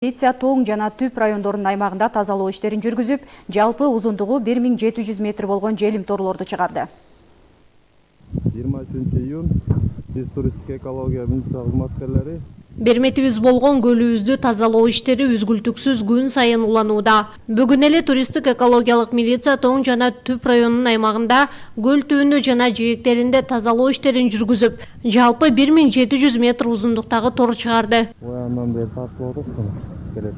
Милиция Тоң жана Түп райондорунун аймагында тазалоо иштерин жүргүзүп, жалпы узундугу 1700 метр болгон желим торлорду чыгарды. 23 июнь биз туристтик экология милиция кызматкерлери Берметибиз болгон көлүбүздү тазалоо иштери үзгүлтүксүз күн сайын уланууда. Бүгүн эле туристтик экологиялык милиция Тоң жана Түп районунун аймагында көл түбүндө жана жээктеринде тазалоо иштерин жүргүзүп, жалпы 1700 метр узундуктагы тор чыгарды. ояндан бери тартып отуруп келет.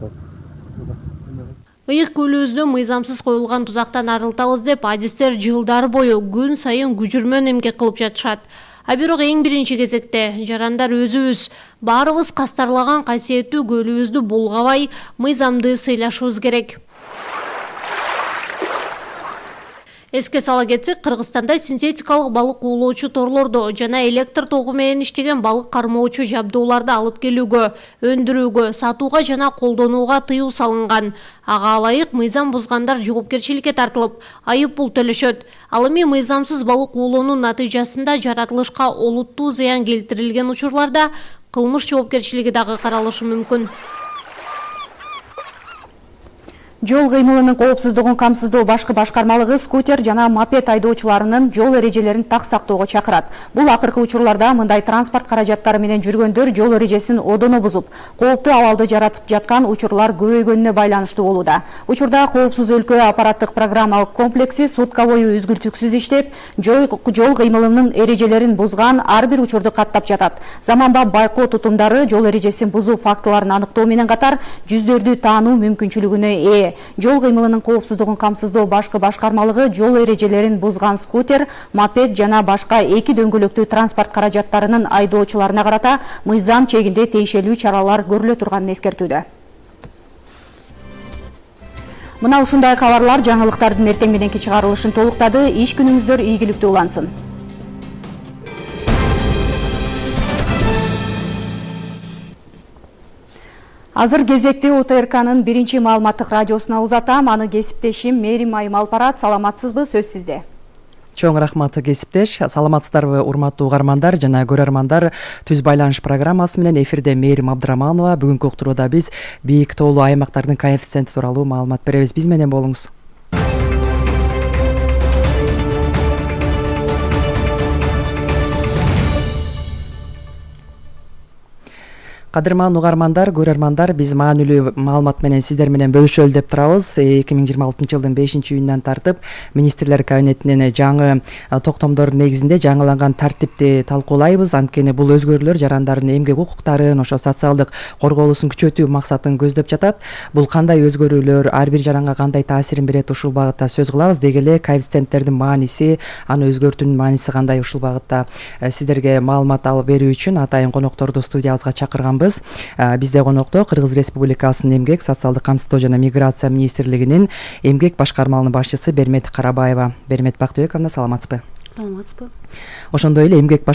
Ыйык көлүбүздү мыйзамсыз коюлган тузактан арылтабыз деп адистер жылдар бою күн сайын күжүрмөн эмгек кылып жатышат. А бирок эң биринчи кезекте жарандар өзүбүз баарыбыз кастарлаган касиеттүү көлүбүздү булгабай, мыйзамды сыйлашыбыз керек. Эске сала кетсек, Кыргызстанда синтетикалык балык уулоочу торлордо жана электр тогу менен иштеген балык кармоочу жабдууларды алып келүүгө, өндүрүүгө, сатууга жана колдонууга тыюу салынган. Ага ылайык мыйзам бузгандар жоопкерчиликке тартылып, айып пул төлөшөт. Ал эми мыйзамсыз балык уулоонун натыйжасында жаратылышка олуттуу зыян келтирилген учурларда кылмыш жоопкерчилиги дагы каралышы мүмкүн. Жол кыймылынын коопсуздугун камсыздоо башкы башкармалыгы скутер жана мопед айдоочуларынын жол эрежелерин так сактоого чакырат. Бул акыркы учурларда мындай транспорт каражаттары менен жүргөндөр жол эрежесин одоно бузуп, кооптуу абалды жаратып жаткан учурлар көбөйгөнүнө байланыштуу болууда. Учурда коопсуз өлкө аппараттык программалык комплекси сутка бою үзгүлтүксүз иштеп, жол кыймылынын эрежелерин бузган ар бир учурду каттап жатат. Заманбап байкоо тутумдары жол эрежесин бузуу фактыларын аныктоо менен катар жүздөрдү таануу мүмкүнчүлүгүнө ээ. Жол кыймылынын коопсуздугун камсыздоо башкы башкармалыгы жол эрежелерин бузган скутер, мопед жана башка эки дөңгөлөктүү транспорт каражаттарынын айдоочуларына карата мыйзам чегинде тиешелүү чаралар көрүлө турганын эскертүүдө. Мына ушундай кабарлар жаңылыктардын эртең мененки чыгарылышын толуктады. Иш күнүңүздөр ийгиликтүү улансын. Азыр кезекти УТРКнын биринчи маалыматтык радиосуна узатам. Аны кесиптешим Мээрим Айым алып барат. Саламатсызбы? Сөз сизде. Чоң рахмат кесиптеш. Саламатсыздарбы урматтуу угармандар жана көрөрмандар. Түз байланыш программасы менен эфирде Мээрим Абдыраманова. Бүгүнкү уктурууда биз бийик тоолуу аймактардын коэффициенти тууралуу маалымат беребиз. Биз менен болуңуз. Кадырман угармандар, көрөрмандар, биз маанилүү маалымат менен сиздер менен бөлүшөлү деп турабыз. 2026 жылдын 5-июнунан тартып министрлер кабинетинин жаңы токтомдор негизинде жаңыланган тартипти талкуулайбыз. Анткени бул өзгөрүүлөр жарандардын эмгек укуктарын, ошо социалдык корголуусун күчөтүү максатын көздөп жатат. Бул кандай өзгөрүүлөр, ар бир жаранга кандай таасирин берет, ушул багытта сөз кылабыз. Деги эле коэффициенттердин мааниси, аны өзгөртүүнүн мааниси кандай, ушул багытта сиздерге маалымат алып берүү үчүн атайын конокторду студиябызга чакырганбыз. Бизде конокто Кыргыз Республикасынын эмгек, социалдык камсыздоо жана миграция министрлигинин эмгек башкармалынын башчысы Бермет Карабаева. Бермет Бактыбековна, саламатсызбы? Саламатсызбы. Ошондой эле эмгек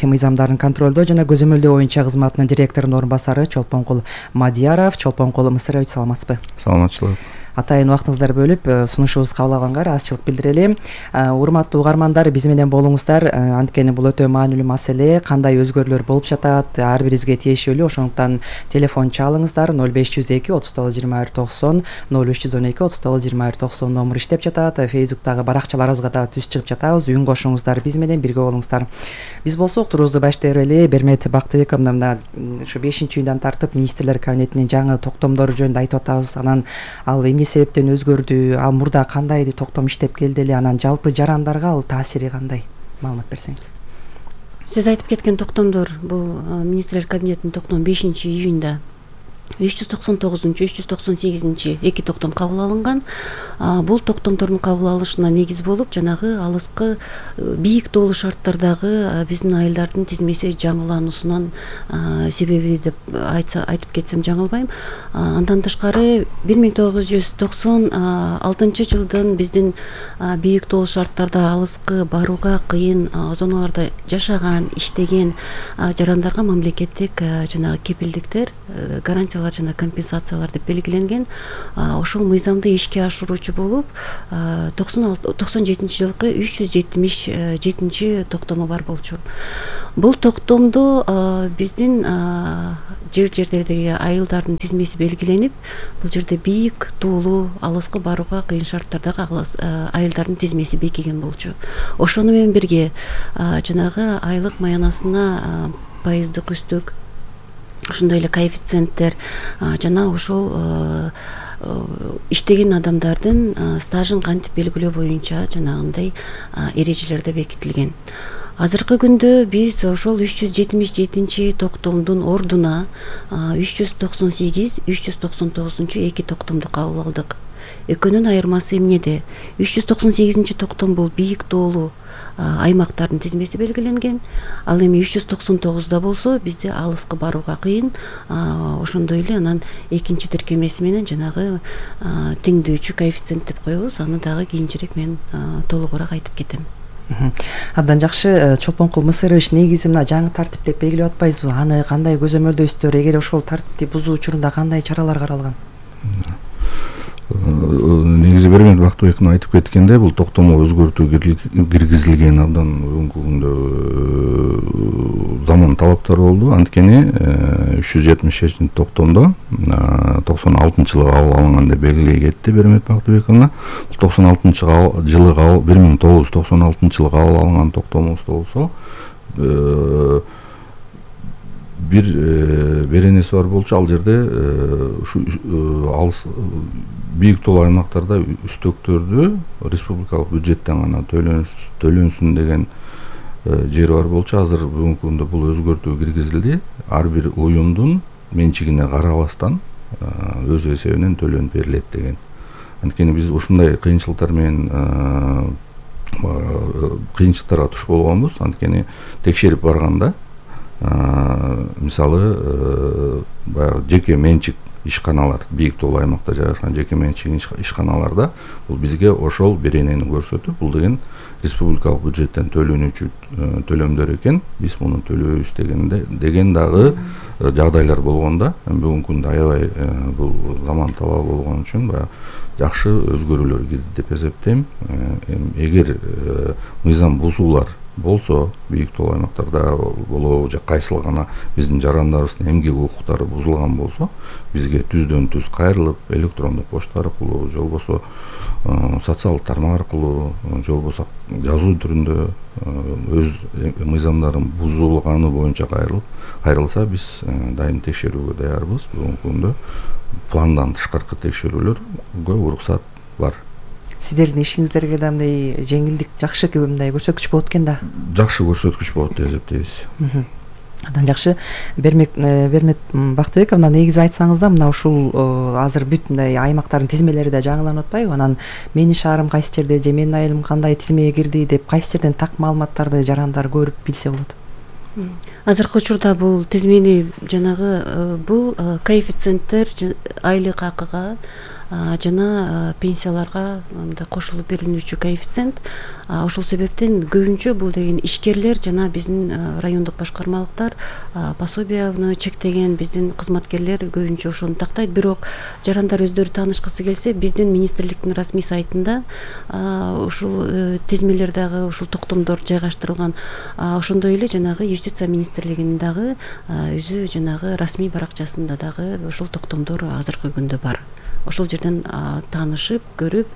мыйзамдарын контролдоо жана көзөмөлдөө боюнча кызматынын директорунун орун басары Чолпонкул Мадияров. Чолпонкул Мысырович, саламатсызбы? Саламатчылык. Атайын убактыңыздар бөлүп сунушубузду кабыл алганга ыраазычылык билдирели. Урматтуу угармандар, биз менен болуңуздар. Анткени бул өтө маанилүү маселе. Кандай өзгөрүүлөр болуп жатат, ар бирибизге тиешелүү. Ошондуктан телефон чалыңыздар. 0502 39 21 90, 0312 39 21 90 номер иштеп жатат. Фейсбуктагы баракчаларыбызга да түз чыгып жатабыз. Үн кошуңуздар, биз менен бирге болуңуздар. Биз болсо уктуруубузду баштай берели. Бермет Бактыбековна, мына ушу 5-июндан тартып министрлер кабинетинин жаңы токтомдору жөнүндө айтып атабыз. Анан ал эмне себептен өзгөрдү, ал мурда кандай токтом иштеп келди эле, анан жалпы жарандарга ал таасири кандай, маалымат берсеңиз. Сиз айтып кеткен токтомдор бул министрлер кабинетинин токтому 5-июнда 399-398 эки токтом кабыл алынган. Бул токтомдордун кабыл алышына негиз болуп, жанагы алыскы бийик тоолуу шарттардагы биздин айылдардын тизмеси жаңылануусунан себеби деп айтып кетсем жаңылбайм. Андан тышкары 1996 жылдын биздин бийик тоолуу шарттарда алыс алыскы барууга кыйын зоналарда жашаган, иштеген жарандарга мамлекеттик жанагы кепилдиктер, гарантиялар жана компенсациялар деп белгиленген. Ошол мыйзамды ишке ашыруучу болуп 97-жылкы 377 токтому бар болчу. Бул токтомдо биздин жерлердеги айылдардын тизмеси белгиленип, бул жерде бийик, туулуу, алыскы барууга кыйын шарттардагы айылдардын тизмеси бекиген болчу. Ошону менен бирге жанагы айлык маянасына пайыздык үстүк, ошондой эле коэффициенттер жана ошол иштеген адамдардын стажын кантип белгилөө боюнча жанагындай эрежелерде бекитилген. Азыркы күндө биз ошол 377 токтомдун ордуна 398, 399 эки токтомду кабыл алдык. Экөөнүн айырмасы эмнеде? 398 токтом бул бийик тоолуу аймактардын тизмеси белгиленген. Ал эми 399да болсо бизде алыскы барууга кыйын. Ошондой эле анан экинчи тиркемеси менен жанагы теңдөөчү коэффициент деп коебуз. Аны дагы кийинчерээк мен толугураак айтып кетем. Абдан жакшы. Чолпонкул Мысырович, негизи мына жаңы тартип деп белгилеп атпайсызбы? Аны кандай көзөмөлдөйсүздөр? Эгер ошол тартипти бузуу учурунда кандай чаралар каралган? Негизи Бермет Бактыбековдун айтып кеткендей, бул токтомго өзгөртүү киргизилген абдан бүгүнкү күндө заман талаптары болду. Анткени 377 токтомдо 96-жылы кабыл алынган деп белгилей кетти Бермет Бактыбековна. 96-жылы 1996-жылы кабыл алынган токтомубузда болсо бир беренеси бар болчу. Ал жерде ушу алыс бийик тоолуу аймактарда үстөктөрдү республикалык бюджеттен гана төлөнсүн деген жер бар болчу. Азыр бүгүнкү күндө бул өзгөртүү киргизилди. Ар бир уюмдун менчигине карабастан өз эсебинен төлөнүп берилет деген. Анткени биз ушундай кыйынчылыктар менен кыйынчылыктарга туш болгонбуз. Анткени текшерип барганда мисалы баягы жеке менчик ишканалар, бийик тоолуу аймакта жайгашкан жеке менчик ишканаларда бул бизге ошол беренени көрсөтүп, бул деген республикалык бюджеттен төлөнүүчү төлөмдөр экен, биз муну төлөйбүз деген дагы жагдайлар болгондо, бүгүнкү күндө аябай бул заман талабы болгон үчүн баягы жакшы өзгөрүүлөр кирди деп эсептейм. Эгер мыйзам бузуулар болсо, бийик тоолуу аймактарда болобу же кайсыл гана биздин жарандарыбыздын эмгек укуктары бузулган болсо, бизге түздөн түз кайрылып, электрондук почта аркылуу, же болбосо социалдык тармак аркылуу, же болбосо жазуу түрүндө өз мыйзамдарын бузулганы боюнча кайрылса, биз дайым текшерүүгө даярбыз. Бүгүнкү күндө пландан тышкаркы текшерүүлөргө уруксат бар. Сиздердин ишиңиздерге да мындай жеңилдик, жакшы мындай көрсөткүч болот экен да. Жакшы көрсөткүч болот деп эсептейбиз. Андан жакшы. Бермет Бактыбековна, негизи айтсаңыз да, мына ушул азыр бүт мындай аймактардын тизмелери да жаңыланып атпайбы? Анан менин шаарым кайсы жерде же менин айылым кандай тизмеге кирди деп кайсы жерден так маалыматтарды жарандар көрүп билсе болот? Азыркы учурда бул тизмени жанагы бул коэффициенттер айлык акыга жана пенсияларга мындай кошулуп берилүүчү коэффициент. Ошол себептен көбүнчө бул деген ишкерлер жана биздин райондук башкармалыктар пособияны чектеген биздин кызматкерлер көбүнчө ошону тактайт. Бирок жарандар өздөрү таанышкысы келсе, биздин министрликтин расмий сайтында ушул тизмелер дагы, ушул токтомдор жайгаштырылган. Ошондой эле жанагы юстиция министрлигинин дагы өзү жанагы расмий баракчасында дагы ушул токтомдор азыркы күндө бар. Ошол жерден таанышып, көрүп,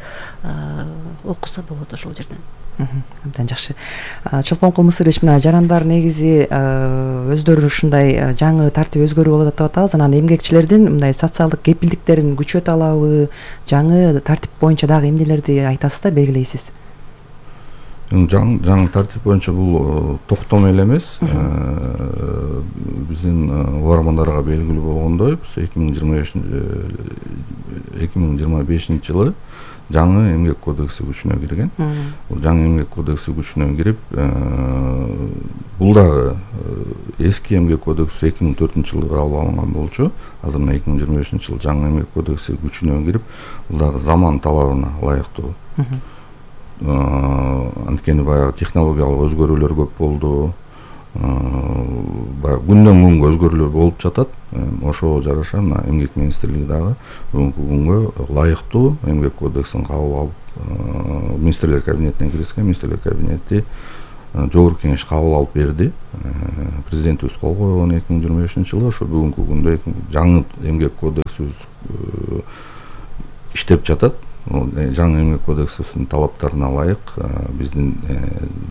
окуса болот ошол жерден. Абдан жакшы. Чолпонкул Мысырович, мына жарандар негизи өздөрү ушундай жаңы тартип өзгөрүү болот деп атабыз. Анан эмгекчилердин мындай социалдык кепилдиктерин күчөтө алабы? Жаңы тартип боюнча дагы эмнелерди айтасыз да, белгилейсиз? Жаңы тартип боюнча бул токтом эле эмес. Биздин угармандарга белгилүү болгондой, 2025 жылы жаңы эмгек кодекси күчүнө кирген. Бул жаңы эмгек кодекси күчүнө кирип, бул дагы эски эмгек кодекси 2004 жылы кабыл алынган болчу. Азыр 2025 жылы жаңы эмгек кодекси күчүнө кирип, бул дагы заман талабына ылайыктуу анткени баягы технологиялык өзгөрүүлөр көп болду. Баягы күндөн күнгө өзгөрүүлөр болуп жатат. Ошого жараша мына эмгек министрлиги дагы бүгүнкү күнгө ылайыктуу эмгек кодексин кабыл алып, министрлер кабинетине киргизген. Министрлер кабинети жогорку кеңеш кабыл алып берди. Президентибиз кол койгон 2025-жылы. Ошо бүгүнкү күндө жаңы эмгек кодексибиз иштеп жатат. Жаңы эмгек кодексинин талаптарына ылайык биздин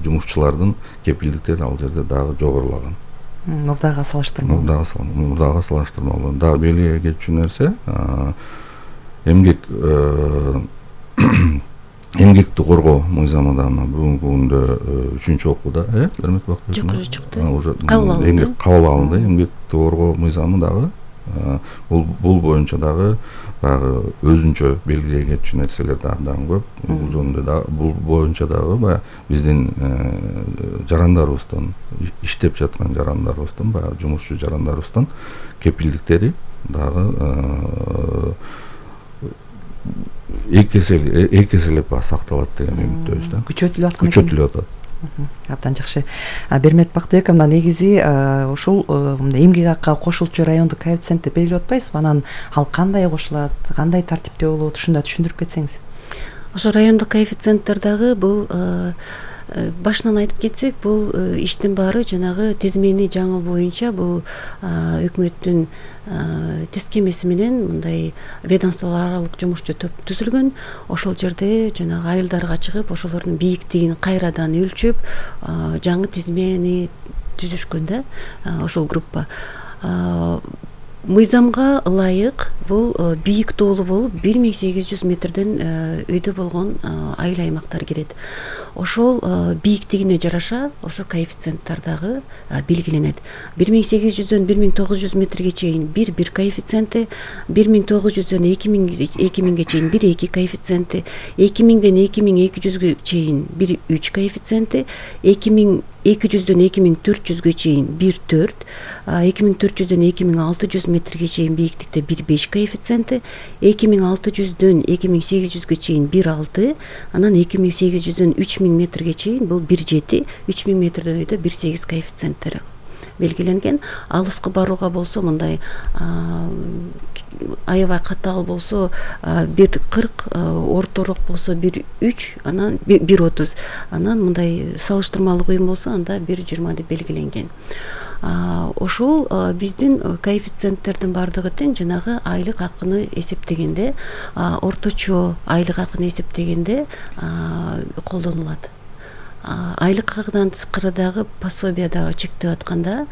жумушчулардын кепилдиктери ал жерде дагы жогорулаган. Мурдага салыштырмалуу. Мурдага салыштырмалуу. Дагы белгилей кетчү нерсе, эмгекти коргоо мыйзамы да бүгүнкү күндө 3-окууда, Бермет Бакбек? Жок, чыкты. Кабыл алынды. Эмгекти коргоо мыйзамы дагы бул боюнча дагы баягы өзүнчө белгилей кетчү нерселер дагы көп. Бул жөнүндө да бул боюнча дагы баягы биздин жарандарыбыздан, иштеп жаткан жарандарыбыздан, баягы жумушчу жарандарыбыздан кепилдиктери дагы эки эселеп сакталат деген үмүттөбүз да. Күчөтүлүп аткан экен. Күчөтүлүп атат. Абдан жакшы. Бермет Бактыбек, мына негизи ушул эмгек акка кошулчу райондук коэффициентти белгилеп атпайсызбы? Анан ал кандай кошулат, кандай тартипте болот, ушунда түшүндүрүп кетсеңиз. Ошо райондук коэффициенттер дагы бул башынан айтып кетсек, бул иштин баары жанагы тизмени жаңыл боюнча бул өкмөттүн тескемеси менен мындай ведомстволор аралык жумушчу топ түзүлгөн. Ошол жерде жанагы айылдарга чыгып, ошолордун бийиктигин кайрадан өлчөп, жаңы тизмени түзүшкөн да, ошол группа. Мыйзамга ылайык бул бийик тоолуу болуп 1800 метрден өйдө болгон айыл аймактар кирет. Ошол бийиктигине жараша ошо коэффициенттер дагы белгиленет. 1800дөн 1900 метрге чейин бир коэффициенти, 1900дөн 2000ге чейин 1-2 коэффициенти, 2000ден 2200ге чейин 1-3 коэффициенти, 2200дөн 2400ге чейин 1-4, 2400дөн 2600 метрге чейин бийиктикте 1-5 коэффициенти, 2600дөн 2800ге чейин 1-6, анан 2800дөн 3000 метрге чейин бул 1-7, 3000 метрден өйдө 1-8 коэффициенттери белгиленген. Алыскы барууга болсо мындай аябай катаал болсо 1-40, ортороок болсо 1-3, анан 1-30, анан мындай салыштырмалуу кыйын болсо анда 1-20 деп белгиленген. Ошол биздин коэффициенттердин баардыгы тең жанагы айлык акыны эсептегенде, орточо айлык акыны эсептегенде колдонулат. Айлык акыдан тышкары дагы пособия дагы чектеп атканда,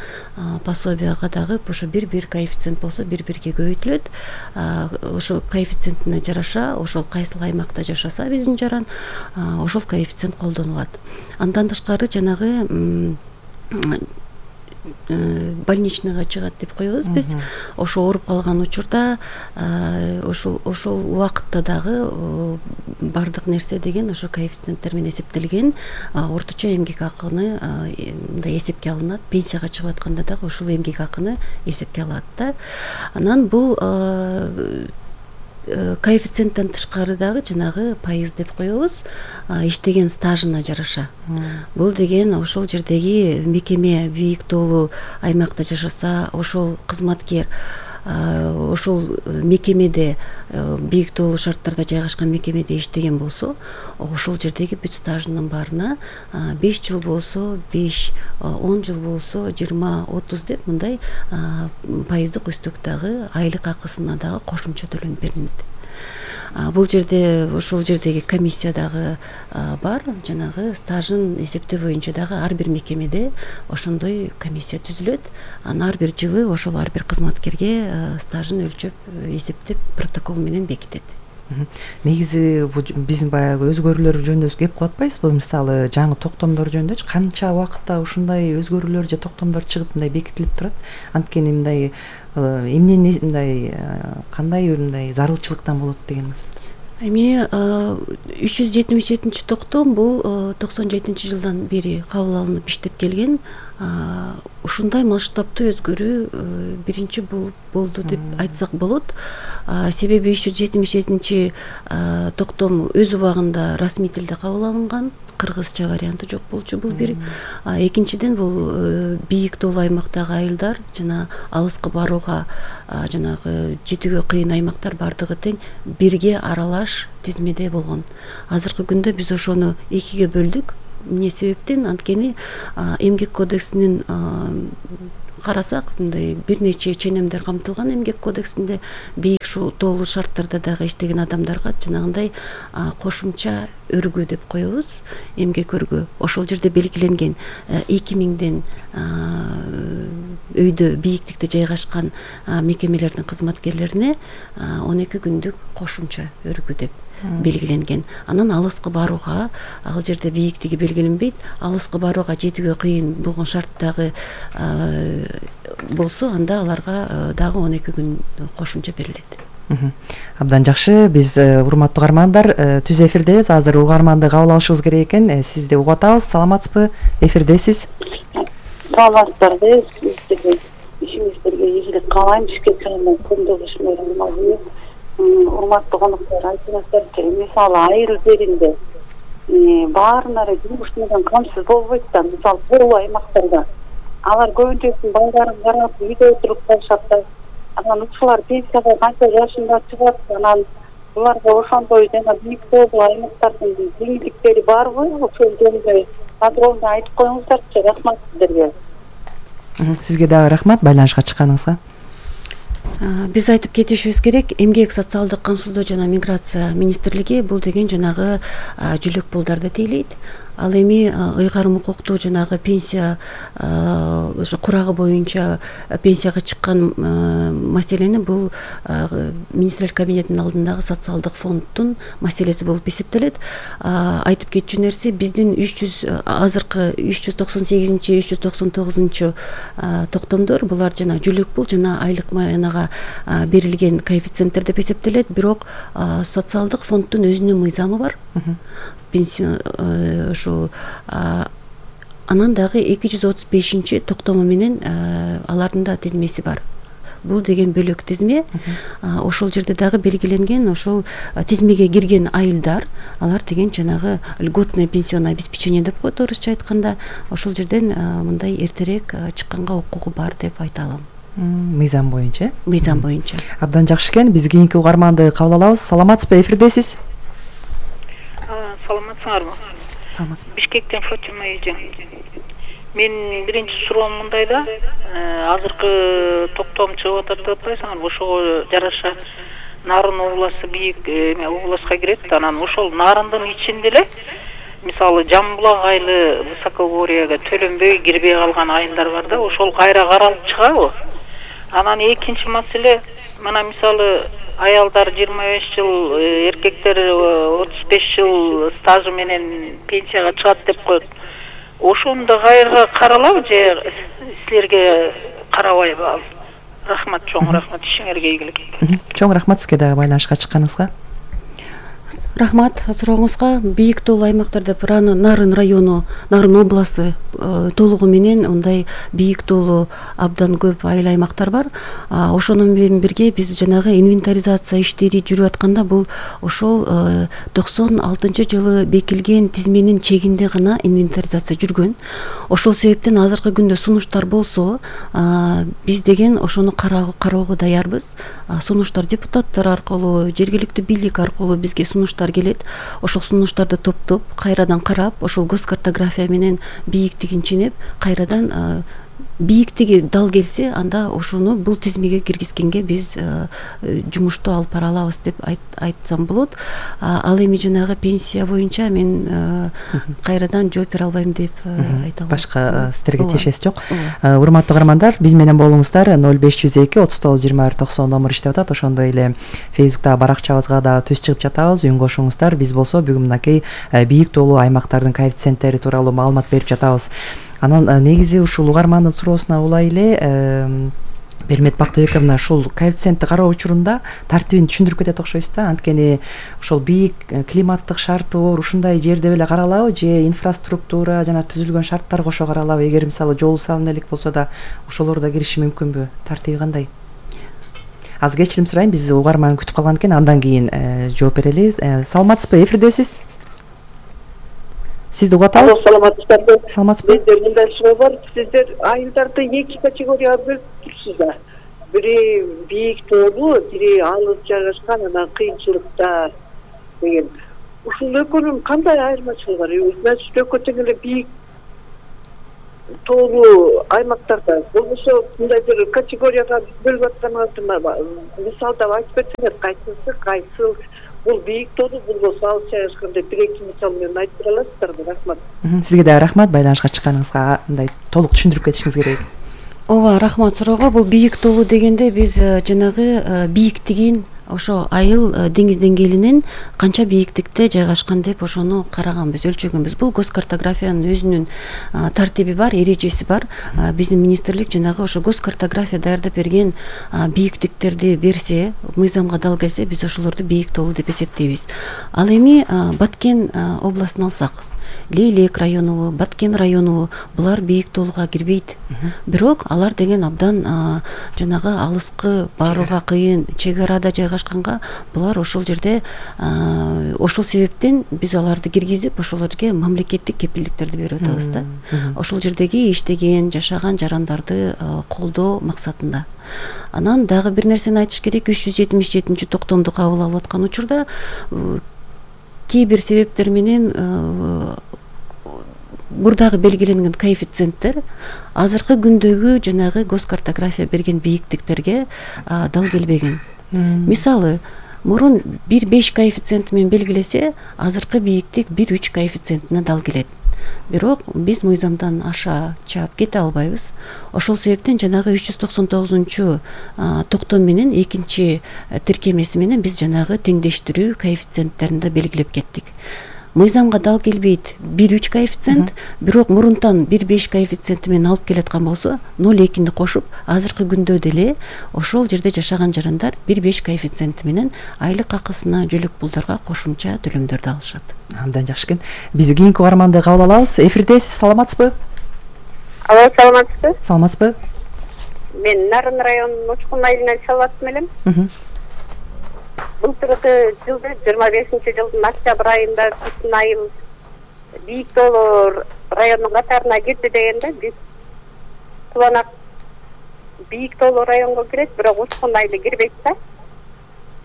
пособияга дагы ошо 1-1 коэффициент болсо 1-1ге көбөйтүлөт. Ошо коэффициентине жараша, ошол кайсыл аймакта жашаса биздин жаран, ошол коэффициент колдонулат. Андан тышкары жанагы больничныйга чыгат деп коебуз биз. Ошо ооруп калган учурда ошол убакытта дагы бардык нерсе деген ошо коэффициенттер менен эсептелген. Орточо эмгек акыны мындай эсепке алынат. Пенсияга чыгып атканда дагы ошол эмгек акыны эсепке алат да. Анан бул коэффициенттен тышкары дагы жанагы пайыз деп коебуз, иштеген стажына жараша. Бул деген ошол жердеги мекеме бийик тоолуу аймакта жашаса, ошол кызматкер ошол мекемеде бийик тоолуу шарттарда жайгашкан мекемеде иштеген болсо, ошол жердеги бүт стажынын баарына 5 жыл болсо 5, 10 жыл болсо 20, 30 деп мындай пайыздык үстөк дагы айлык акысына дагы кошумча төлөнүп берилет. Бул жерде ошол жердеги комиссия дагы бар, жанагы стажын эсептөө боюнча дагы ар бир мекемеде ошондой комиссия түзүлөт. Анан ар бир жылы ошол ар бир кызматкерге стажын өлчөп, эсептеп протокол менен бекитет. Негизи биздин баягы өзгөрүүлөр жөнүндө кеп кылып атпайсызбы? Мисалы, жаңы токтомдор жөнүндө канча убакытта ушундай өзгөрүүлөр же токтомдор чыгып мындай бекитилип турат? Анткени мындай эмнени мындай кандай мындай зарылчылыктан болот деген Эми 377 токтом бул 97-жылдан бери кабыл алынып иштеп келген. Ушундай масштабтуу өзгөрүү биринчи болду деп айтсак болот. Себеби 377 токтом өз убагында расмий тилде кабыл алынган, кыргызча варианты жок болчу. Бул бир. Экинчиден бул бийик тоолуу аймактагы айылдар жана алыскы барууга жанагы жетүүгө кыйын аймактар бардыгы тең бирге аралаш тизмеде болгон. Азыркы күндө биз ошону экиге бөлдүк. Эмне себептен? Анткени эмгек кодексинин карасак, мындай бир нече ченемдер камтылган эмгек кодексинде. Бийик тоолуу шарттарда дагы иштеген адамдарга жанагындай кошумча өргүү деп коебуз, эмгек өргүү. Ошол жерде белгиленген 2000ден өйдө бийиктикте жайгашкан мекемелердин кызматкерлерине 12 күндүк кошумча өргүү деп белгиленген. Анан алыскы барууга, ал жерде бийиктиги белгиленбейт, алыскы барууга жетүүгө кыйын болгон шарттагы болсо, анда аларга дагы 12 күн кошумча берилет. Абдан жакшы. Биз урматтуу угармандар, түз эфирдебиз. Азыр угарманды кабыл алышыбыз керек экен. Сизди угуп атабыз. Саламатсызбы? Эфирдесиз. Саламатсыздарбы? Сиздерге ишиңиздерге ийгилик каалайм. Бишкек шаарынан Күндүз Ишмерим. Урматтуу коноктор, айтыңыздарчы, мисалы айыл жеринде баарына эле жумуш менен камсыз болбойт да. Мисалы тоолуу аймактарда алар көбүнчөсү балдарын карап үйдө отуруп калышат да. Анан ушулар пенсияга канча жашында чыгат, анан буларга ошондой жана бийик тоолуу аймактардын жеңилдиктери барбы? Ошол жөнүндө подробно айтып коюңуздарчы. Рахмат сиздерге. Сизге дагы рахмат байланышка чыкканыңызга. Биз айтып кетишибиз керек, эмгек социалдык камсыздоо жана миграция министрлиги бул деген жанагы жүлөк пулдарды тейлейт. Ал эми ыйгарым укуктуу жанагы пенсия ошо курагы боюнча пенсияга чыккан маселени бул министрлер кабинетинин алдындагы социалдык фонддун маселеси болуп эсептелет. Айтып кетчү нерсе, биздин азыркы 398-399 токтомдор булар жана жүлөк пул жана айлык маянага берилген коэффициенттер деп эсептелет. Бирок социалдык фонддун өзүнүн мыйзамы бар. Ошол анан дагы 235 токтому менен алардын да тизмеси бар. Бул деген бөлөк тизме. Ошол жерде дагы белгиленген, ошол тизмеге кирген айылдар, алар деген жанагы льготное пенсионное обеспечение деп коет орусча айтканда. Ошол жерден мындай эртерээк чыкканга укугу бар деп айта алам. Мыйзам боюнча? Мыйзам боюнча. Абдан жакшы экен. Биз кийинки угарманды кабыл алабыз. Саламатсызбы? Эфирдесиз. Саламатсыңарбы? Саламатсызбы. Бишкектен Фатима эжең. Мен биринчи суроом мындайда, азыркы токтом чыгып атат деп атпайсыңарбы? Ошого жараша Нарын областы бийик областка кирет. Анан ошол Нарындын ичинде эле мисалы Жамбулак айылы высокогорьяга төлөнбөй кирбей калган айылдар бар да, ошол кайра каралып чыгабы? Анан экинчи маселе, мына мисалы аялдар 25 жыл, эркектер 35 жыл стажы менен пенсияга чыгат деп коет. Ошондо кайра каралабы же силерге карабайбы ал? Рахмат, чоң рахмат, ишиңерге ийгилик. Чоң рахмат сизге дагы байланышка чыкканыңызга. Рахмат сурооңузга. Бийик тоолуу аймактар деп Нарын району, Нарын областы толугу менен ондай бийик тоолуу абдан көп айыл аймактар бар. Ошону менен бирге биз жанагы инвентаризация иштери жүрүп атканда бул ошол 96-жылы бекилген тизменин чегинде гана инвентаризация жүргөн. Ошол себептен азыркы күндө сунуштар болсо, биз деген ошону кароого даярбыз. Сунуштар депутаттар аркылуу, жергиликтүү бийлик аркылуу бизге сунуштар келет. Ошол сунуштарды топтоп, кайрадан карап, ошол гоз картография менен бийиктигин ченеп, кайрадан бийиктиги дал келсе, анда ошону бул тизмеге киргизгенге биз жумушту алып бара алабыз деп айтсам болот. Ал эми жанагы пенсия боюнча мен кайрадан жооп бере албайм деп айта алам. Башка сиздерге тиешеси жок. Урматтуу угармандар, биз менен болуңуздар. 0502 39 21 90 номер иштеп атат. Ошондой эле Facebook'та баракчабызга да түз чыгып жатабыз. Үн кошуңуздар. Биз болсо бүгүн мынакей бийик тоолуу аймактардын коэффициенттери тууралуу маалымат берип жатабыз. Анан негизи ушул угармандын суроосуна улай эле Бермет Бактыбековна, ушул коэффициентти кароо учурунда тартибин түшүндүрүп кетет окшойсуз да. Анткени ошол бийик климаттык шарты бар ушундай жерде беле каралабы же инфраструктура жана түзүлгөн шарттар кошо каралабы? Эгер мисалы жол салына элек болсо да ошолор да кириши мүмкүнбү? Тартиби кандай? Аз кечирим сурайм, биз угарман күтүп калган экен, андан кийин жооп берели. Саламатсызбы? Эфирдесиз. Сизди угуп атабыз. Саламатсыздарбы? Саламатсызбы? Менде мындай суроо бар. Сиздер айылдарды эки категорияга бөлүп турсуздар. Бири бийик тоолуу, бири алыс жайгашкан, анан кыйынчылыкта деген. Ушул экөөнүн кандай айырмачылыгы бар? Значит, экөө тең эле бийик тоолуу аймактарда болбосо мындай бир категорияга бөлүп атканыңызды мисалдап айтып берсеңиз, кайсысы кайсыл? Бул бийик тоолуу, болбосо алыс жайгашкан деп бир-эки мисал менен айтып бере аласыздарбы? Рахмат. Сизге да рахмат, байланышка чыкканыңызга мындай толук түшүндүрүп кетишиңиз керек. Ооба, рахмат суроого. Бул бийик тоолуу дегенде биз жанагы бийиктигин ошо айыл деңиз деңгээлинен канча бийиктикте жайгашкан деп ошону караганбыз, өлчөгөнбүз. Бул гос картографиянын өзүнүн тартиби бар, эрежеси бар. Биздин министрлик жанагы ошо гос картография даярдап берген бийиктиктерди берсе, мыйзамга дал келсе, биз ошолорду бийик тоолуу деп эсептейбиз. Ал эми Баткен областын алсак, Лейлек районубу, Баткен районубу, булар бийик тоолууга кирбейт. Бирок алар деген абдан жанагы алыскы, барууга кыйын, чек арада жайгашканга, булар ошол жерде ошол себептен биз аларды киргизип, ошолорго мамлекеттик кепилдиктерди берип атабыз да. Ошол жердеги иштеген, жашаган жарандарды колдоо максатында. Анан дагы бир нерсени айтыш керек, 377 токтомду кабыл алып аткан учурда кээ бир себептер менен мурдагы белгиленген коэффициенттер азыркы күндөгү жанагы гос картография берген бийиктиктерге дал келбеген. Мисалы, мурун 1,5 коэффициенти менен белгилесе, азыркы бийиктик 1,3 коэффициентине дал келет. Бирок биз мыйзамдан аша чаап кете албайбыз. Ошол себептен жанагы 399 токтом менен экинчи тиркемеси менен биз жанагы теңдештирүү коэффициенттерин да белгилеп кеттик. Мыйзамга дал келбейт 1,3 коэффициент, бирок мурунтан 1,5 коэффициенти менен алып келаткан болсо, 0,2-ни кошуп, азыркы күндө деле ошол жерде жашаган жарандар 1,5 коэффициенти менен айлык акысына, жөлөк пулдарга кошумча төлөмдөрдү алышат. Абдан жакшы экен. Биз кийинки угарманды кабыл алабыз. Эфирдесиз, саламатсызбы? Алло, саламатсызбы? Саламатсызбы? Мен Нарын районунун Учкун айылынан чалып элем. Былтыркы жылды 25-жылдын октябрь айында биздин айыл бийик тоолуу районунун катарына кирди дегенде, биз Тубанак бийик тоолуу районго кирет, бирок Учкун айылы кирбейт да.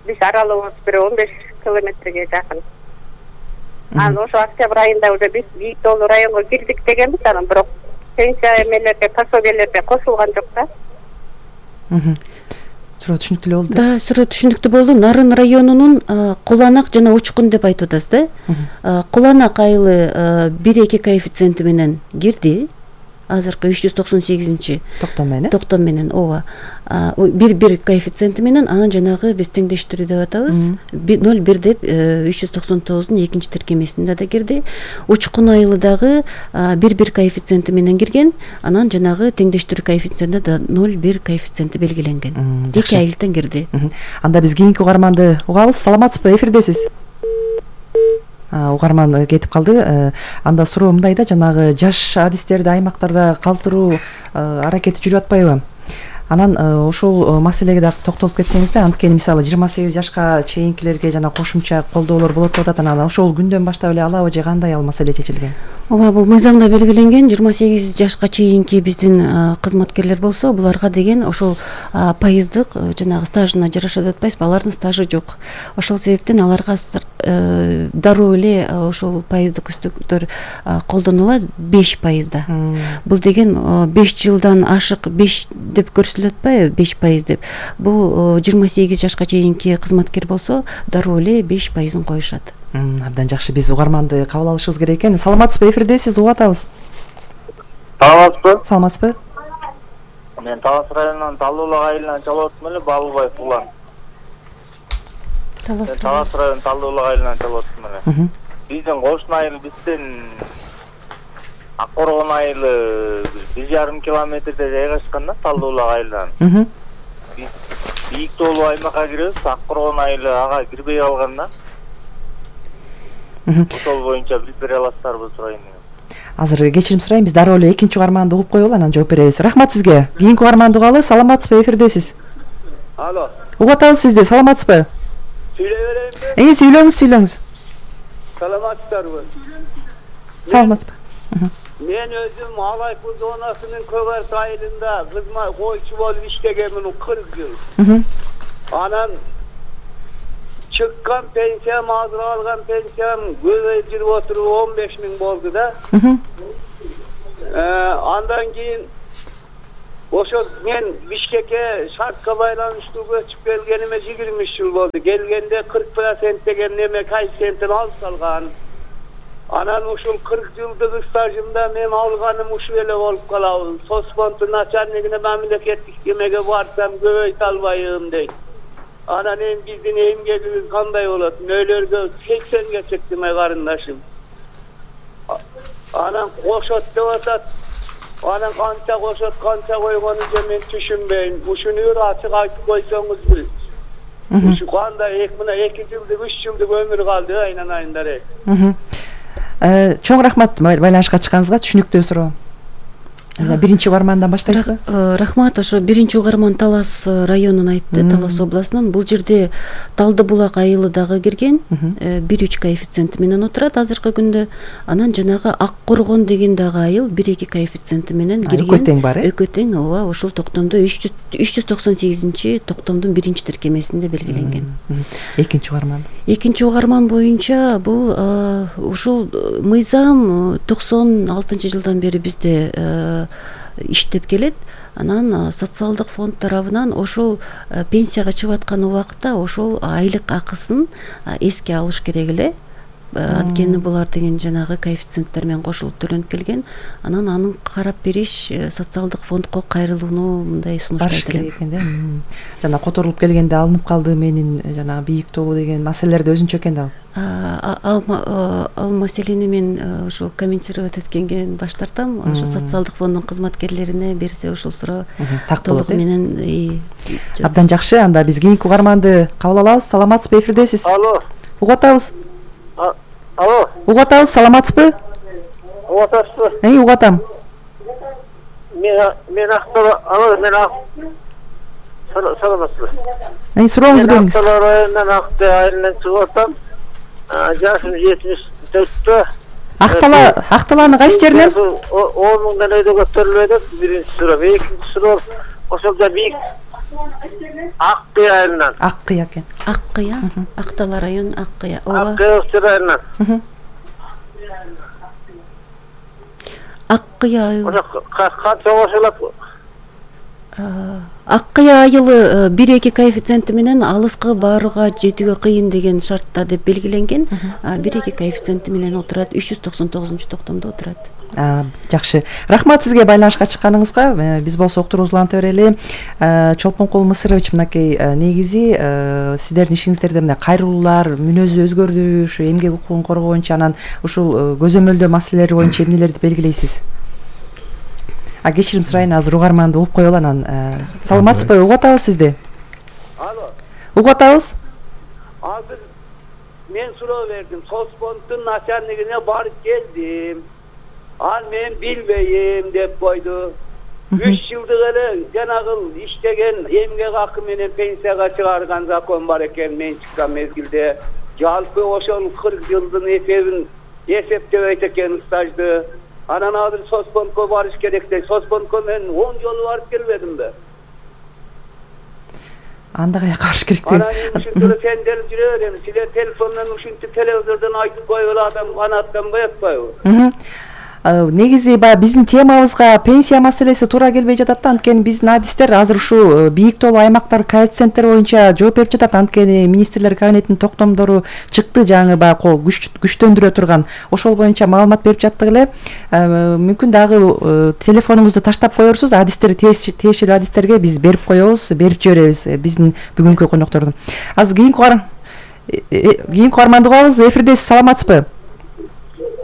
Биз аралыгыбыз бир 15 километрге жакын. Анан ошо октябрь айында уже биз бийик тоолуу районго кирдик дегенбиз, анан бирок пенсия эмелерге, пособиелерге кошулган жок да. Суроо түшүнүктүү болду. Да, суроо түшүнүктүү болду. Нарын районунун Куланак жана Учкун деп айтып атасыз да. Куланак айылы 1,2 коэффициенти менен кирди. Азыркы 398 токтом менен ооба. 1,1 коэффициенти менен, анан жанагы биз теңдештирүү деп атабыз. 0,1 деп 399-дун экинчи тиркемесинде да кирди. Учкун айылы дагы 1,1 коэффициенти менен кирген, анан жанагы теңдештирүү коэффициентинде да 0,1 коэффициенти белгиленген. Эки айылдан кирди. Анда биз кийинки угарманды угабыз. Саламатсызбы? Эфирдесиз. Угарман кетип калды. Анда суроо мындай да, жанагы жаш адистерди аймактарда калтыруу аракети жүрүп атпайбы? Анан ошол маселеге да токтолуп кетсеңиз да, анткени мисалы 28 жашка чейинкилерге жана кошумча колдоолор болот деп атат. Анан ошол күндөн баштап эле алабы же кандай ал маселе чечилген? Ооба, бул мыйзамда белгиленген. 28 жашка чейинки биздин кызматкерлер болсо, буларга деген ошол пайыздык жанагы стажына жараша деп атпайбызбы, алардын стажы жок. Ошол себептен аларга дароо эле ошол пайыздык үстүктөр колдонулат 5%. Бул деген 5 жылдан ашык 5 деп көрсөтүлүп атпайбы, 5% деп. Бул 28 жашка чейинки кызматкер болсо, дароо эле 5%-ын коюшат. Абдан жакшы. Биз угарманды кабыл алышыбыз керек экен. Саламатсызбы? Эфирдесиз, угуп атабыз. Саламатсызбы? Саламатсызбы? Мен Талас районунан Талуулак айылынан чалып атам эле, Бабылбаев Улан. Талас районунун Талуулак айылынан чалып атам эле. Биздин кошун айыл бизден Ак Коргон айылы 1,5 километрде жайгашкан да, Талуулак айылынан. бийик тоолуу аймакка киребиз. Ак Коргон айылы ага кирбей калган да. Ошол боюнча билип бере аласыздарбы сурайын дегем. Азыр кечирим сурайм, биз дароо эле экинчи угарманды угуп коелу, анан жооп беребиз. Рахмат сизге. Кийинки угарманды угалы. Саламатсызбы, эфирдесиз. Алло. Угуп атабыз сизди. Саламатсызбы? Сүйлөй берейинби? Сүйлөңүз. Саламатсыздарбы? Саламатсызбы? Мен өзүм Алайпур зонасынын Көк Арт айылында койчу болуп иштегенмин 40 жыл. Анан чыккан пенсиям, азыр алган пенсиям көбөйүп жүрүп отуруп 15 000 болду да. Андан кийин ошо мен Бишкекке шартка байланыштуу көчүп келгениме 23 жыл болду. Келгенде 40% деген неме коэффициентин алып салган. Анан ушул 40 жылдык стажымда мен алганым ушул эле болуп калабы. Соцфонддун начальнигине мамлекеттик кемеге барсам көбөйтө албайм дейт. Анан эми биздин эмгегибиз кандай болот? Нөлөргө 80ге чыкты ме карындашым. Анан кошот деп атат. Анан канча кошот, канча койгонун мен түшүнбөйм. Ушуну бир ачык айтып койсоңузбу. Ушу кандай 2 жылдык, 3 жылдык өмүр калды айнан айындар. Чоң рахмат байланышка чыкканыңызга. Түшүнүктүү суроо. Биринчи угармандан баштайсызбы? Рахмат. Ошо биринчи угарман Талас районун айтты, Талас областынан. Бул жерде Талды булак айылы дагы кирген, 1,3 коэффициенти менен отурат азыркы күндө. Анан жанагы Ак Коргон деген дагы айыл 1,2 коэффициенти менен кирген. Экөө тең бар, Экөө тең, ооба, ошол токтомдо 398 токтомдун биринчи тиркемесинде белгиленген. Экинчи угарман. Экинчи угарман боюнча бул ушул мыйзам 96-жылдан бери бизде иштеп келет. Анан социалдык фонд тарабынан ошол пенсияга чыгып аткан убакта ошол айлык акысын эске алыш керек эле. Анткени булар деген жанагы коэффициенттер менен кошулуп төлөнүп келген. Анан аны карап бериш социалдык фондко кайрылууну мындай сунуштайт элем экен да. Жана которулуп келгенде алынып калды менин жана бийик тоолуу деген маселелерде өзүнчө экен да. Ал маселени мен ошо комментировать эткенге баш тартам. Ошо социалдык фонддун кызматкерлерине берсе ошол суроо толук менен абдан жакшы. Анда биз кийинки угарманды кабыл алабыз. Саламатсызбы, эфирдесиз? Алло. Угуп атабыз. Алло. Угуп атабыз, саламатсызбы? Угуп атасызбы? Угуп атам. Мен Актала, алло, мен саламатсызбы? Сурооңузду бериңиз. Мен Актала районунан Акты айылынан чыгып атам. Жашым 74-тө. Акталаны кайсы жеринен? 10 мыңдан өйдө көтөрүлүп атат. Биринчи суроо, экинчи суроо ошол да бийик Аккыя айылынан. Аккыя экен. Аккыя, Актала район Аккыя. Аккыя айылынан. Аккыя айылы. Канча кошулат? Аккыя айылы 1,2 коэффициенти менен алыска барууга жетүүгө кыйын деген шартта деп белгиленген. 1,2 коэффициенти менен отурат, 399 токтомдо отурат. Жакшы. Рахмат сизге байланышка чыкканыңызга. Биз болсо уктуруубузду уланта берели. Чолпонкул Мысырович, мынакей негизи сиздердин ишиңиздерде мына кайрылуулар, мүнөзү өзгөрдү, ушу эмгек укугун коргоо боюнча, анан ушул көзөмөлдөө маселелери боюнча эмнелерди белгилейсиз? Кечирим сурайын, азыр угарманды угуп коелу анан. Саламатсызбы? Угуп атабыз сизди. Алло. Угуп атабыз? Азыр мен суроо бердим. Соцфонддун начальнигине барып келдим. Ал мен билбейм деп койду. 3 жылдык эле жанагы иштеген эмгек акы менен пенсияга чыгарган закон бар экен мен чыккан мезгилде. Жалпы ошол 40 жылдын эсебин эсептебейт экен стажды. Анан азыр соцфондко барыш керек дейт. Соцфондко мен 10 жолу барып келбедимби? Анда каяка барыш керек дейсиз? Анан ушинтип сендер жүрө берем. Силер телефондон ушинтип телевизордон айтып койгула, адам канааттанбай атпайбы? Негизи баягы биздин темабызга пенсия маселеси туура келбей жатат да, анткени биздин адистер азыр ушу бийик тоолуу аймактар коэффициенттер боюнча жооп берип жатат. Анткени министрлер кабинетинин токтомдору чыкты, жаңы баягы күчтөндүрө турган. Ошол боюнча маалымат берип жаттык эле. Мүмкүн дагы телефонуңузду таштап коерсуз, адистер тиешелүү адистерге биз берип коебуз, берип жиберебиз биздин бүгүнкү коноктордун. Азыр кийинки угарманды угабыз. Эфирдесиз, саламатсызбы?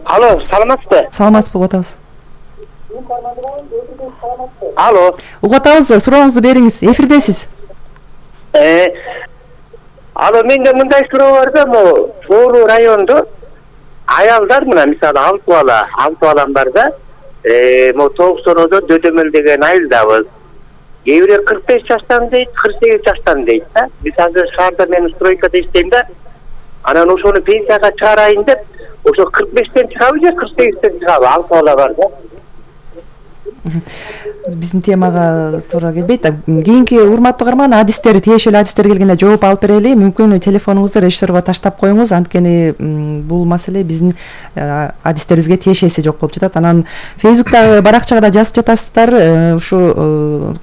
Алло, саламатсызбы? Саламатсызбы, угуп атабыз. Алло. Угуп атабыз, сурооңузду бериңиз. Эфирдесиз. Ала менде мындай суроо бар да, могу Тоору райондо аялдар мына мисалы 6 балам бар да, могу Тооксороодо Дөдөмөл деген айылдабыз. Кээ бири 45 жаштан дейт, 48 жаштан дейт да. Биз азыр шаарда мен стройкада иштейм да. Анан ошону пенсияга чыгарайын деп, ошо 45тен чыгабы же 48тен чыгабы? 6 бала бар да. Биздин темага туура келбейт. Кийинки урматтуу угарман адистер, тиешелүү адистер келгенде жооп алып берели. Мүмкүн телефонуңузду режиссерго таштап коюңуз. Анткени бул маселе биздин адистерибизге тиешеси жок болуп жатат. Анан Фейсбуктагы баракчага да жазып жатасыздар. Ушу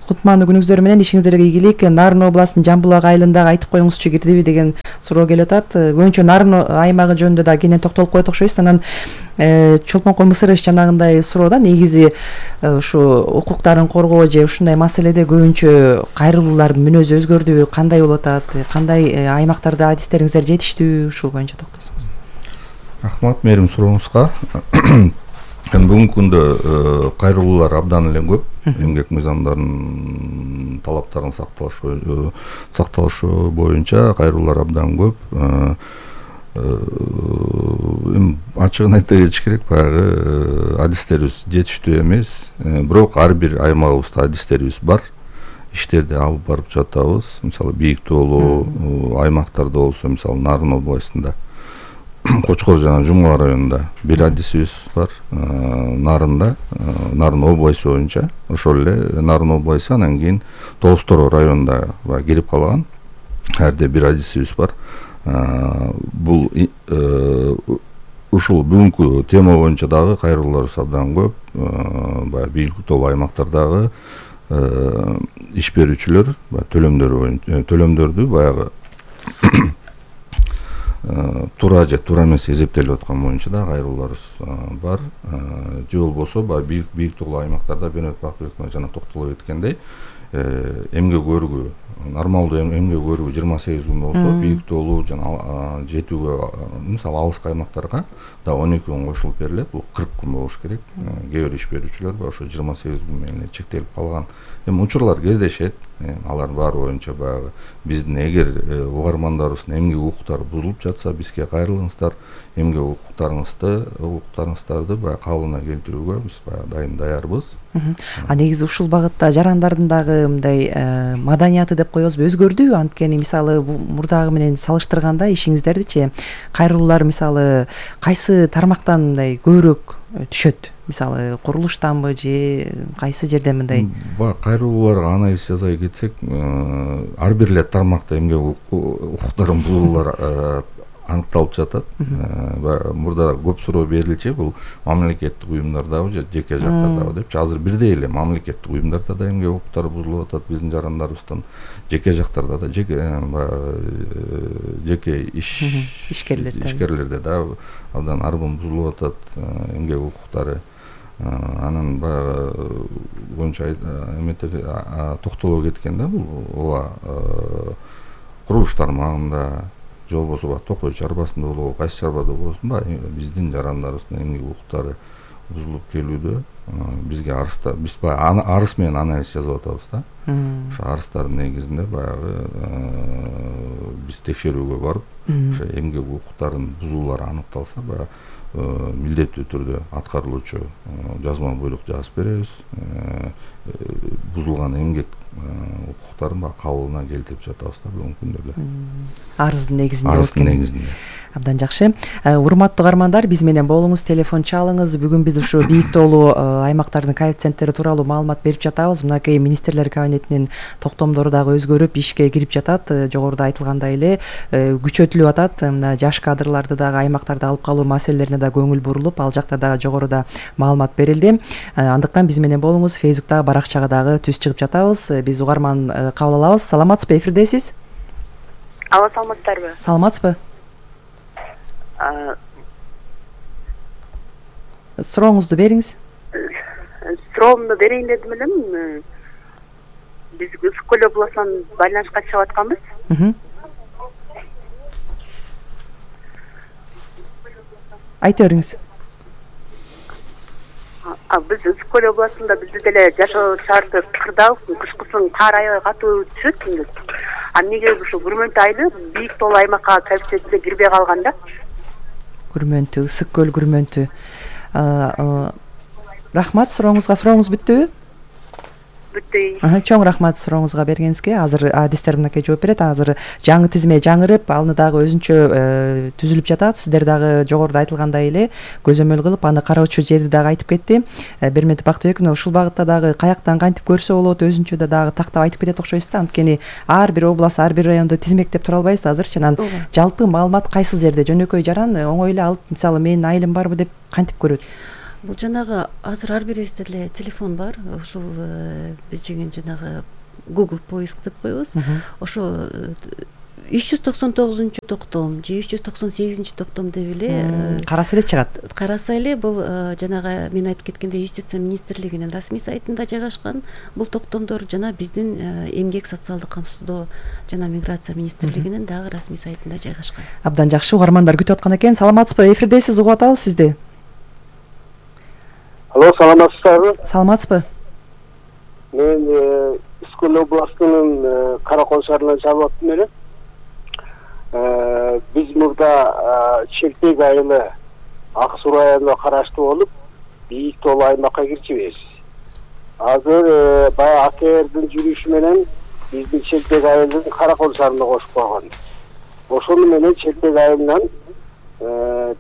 кутмандуу күнүңүздөр менен ишиңиздерге ийгилик. Нарын областынын Жамбулак айылындагы айтып коюңузчу кирдиби деген суроо келип атат. Көбүнчө Нарын аймагы жөнүндө да кенен токтолуп коет окшойсуз. Анан Чолпон Мысыров жанагындай суроода негизи ушу укуктарын коргоо же ушундай маселеде көбүнчө кайрылуулардын мүнөзү өзгөрдүбү, кандай болуп атат, кандай аймактарда адистериңиздер жетиштүү, ушул боюнча токтолсоңуз. Рахмат мерим сурооңузга. Бүгүнкү күндө кайрылуулар абдан эле көп. Эмгек мыйзамдарынын талаптарын сакталышы боюнча кайрылуулар абдан көп. Ачыгын айта кетиш керек, баягы адистерибиз жетиштүү эмес. Бирок ар бир аймагыбызда адистерибиз бар. Иштерди алып барып жатабыз. Мисалы Бийик тоолуу аймактарда болсо, мисалы Нарын областында, Кочкор жана Жумгала районунда бир адисибиз бар. Нарында, Нарын областы боюнча, ошол эле Нарын областы, анан кийин Тоостор районунда кирип калган. Әрде бир адисибиз бар. Бул ушул бүгүнкү тема боюнча дагы кайрылуулар абдан көп. Баягы Бийик тоолуу аймактардагы иш берүүчүлөр төлөмдөрдү баягы туура же туура эмес эсептелип аткан боюнча да кайрылууларыбыз бар. Же болбосо баягы Бийик тоолуу аймактарда Бенет Бакбеков жана токтолуп өткөндөй эмгек өргү, нормалдуу эмгек өргү 28 күн болсо, Бийик тоолуу жана жетүүгө, мисалы алыскы аймактарга да 12 күн кошулуп берилет. Бул 40 күн болуш керек. Кээ бир иш берүүчүлөр ошо 28 күн менен чектелип калган. Учурлар кездешет. Алар баары боюнча баягы биздин эгер угармандарыбыздын эмгек укуктары бузулуп жатса, бизге кайрылыңыздар. Эмгек укуктарыңыздарды баягы калыбына келтирүүгө биз баягы дайым даярбыз. Негизи ушул багытта жарандардын дагы мындай маданияты деп коебузбу, өзгөрдүбү? Анткени мисалы мурдагы менен салыштырганда ишиңиздердичи кайрылуулар мисалы кайсы тармактан мындай көбүрөөк түшөт? Мисалы курулуштанбы же кайсы жерден мындай? Кайрылууларга анализ жасай кетсек, ар бир эле тармакта эмгек укуктарын бузуулар аныкталып жатат. Мурда көп суроо берилчү, бул мамлекеттик уюмдардабы же жеке жактардабы депчи. Азыр бирдей эле мамлекеттик уюмдарда да эмгек укуктары бузулуп атат биздин жарандарыбыздын, жеке жактарда да, жеке ишкерлерде да абдан арбын бузулуп атат эмгек укуктары. Анан баягы боюнча токтолуп кеткенде, бул ооба курулуш тармагында же болбосо Токой чарбасында болобу, кайсы чарбада болсун, биздин жарандарыбыздын эмгек укуктары бузулуп келүүдө. Бизге арызда, биз баягы арыз менен анализ жасап атабыз да. Ошо арыздардын негизинде баягы биз текшерүүгө барып, ошо эмгек укуктарынын бузуулары аныкталса, баягы милдеттүү түрдө аткарылуучу жазма буйрук жазып беребиз. Бузулган эмгек укуктарын кабылына келтирип жатабыз да бүгүнкү күндөрдө. Арыздын негизинде. Абдан жакшы. Урматтуу угармандар, биз менен болуңуз, телефон чалыңыз. Бүгүн биз ушу Бийик тоолуу аймактардын коэффициенттери тууралуу маалымат берип жатабыз. Мынакей министрлер кабинетинин токтомдору дагы өзгөрүп, ишке кирип жатат. Жогоруда айтылгандай эле күчөтүлүп атат. Мына жаш кадрларды дагы аймактарда алып калуу маселелерине да көңүл бурулуп, ал жакта дагы жогоруда маалымат берилди. Андыктан биз менен болуңуз, Фейсбуктагы баракчага дагы түз чыгып жатабыз. Биз угарман кабыл алабыз. Саламатсызбы, эфирдесиз? Алла, саламатсыздарбы? Саламатсызбы? Сурооңузду бериңиз. Суроомду берейин дедим элем. Биз Үскү көл областынан байланышка чыгып атканбыз. Айта бериңиз. Биз Үскү көл областында бизде деле жашоо шарты кырдаал, кышкысын кар аябай катуу түшөт. Эмнеге ушул Күрмөнтү айылы бийик тоолуу аймакка коэффициентине кирбей калган да? Күрмөнтү, Ысык көл Күрмөнтү. Рахмат, сурооңуз бүттүбү? Бүттү. Чоң рахмат сурооңузга бергениңизге. Азыр адистер мынакей жооп берет. Азыр жаңы тизме жаңырып, аны дагы өзүнчө түзүлүп жатат. Сиздер дагы жогоруда айтылгандай эле көзөмөл кылып, аны кароочу жерди дагы айтып кетти. Берметов Бактыбековна, ушул багытта дагы каяктан кантип көрсө болот, өзүнчө дагы тактап айтып кетет окшойсуз да. Анткени ар бир област, ар бир районду тизмектеп тура албайбыз азырчы. Анан жалпы маалымат кайсыл жерде жөнөкөй жаран оңой эле алып, мисалы менин айылым барбы деп кантип көрөт? Бул жанагы азыр ар бирибизде эле телефон бар. Ушул биз деген жанагы Google поиск деп коебуз. Ошо 399 токтом же 398 токтом деп эле караса эле чыгат. Караса эле бул жанагы мен айтып кеткендей Юстиция министрлигинин расмий сайтында жайгашкан бул токтомдор жана биздин эмгек социалдык камсыздоо жана миграция министрлигинин дагы расмий сайтында жайгашкан. Абдан жакшы, угармандар күтүп аткан экен. Саламатсызбы? Эфирдесиз, угуп атабыз сизди. Алло, саламатсызбы? Саламатсызбы? Мен Ысык областынын Каракол шаарынан чалып аттым эле. Биз мурда Челпек айылы Ак Суу районуна караштуу болуп, бийик тоолуу аймакка кирчүбүз. Азыр баягы АКРдин жүрүшү менен биздин Челпек айылын Каракол шаарына кошуп койгон. Ошону менен Челпек айылынан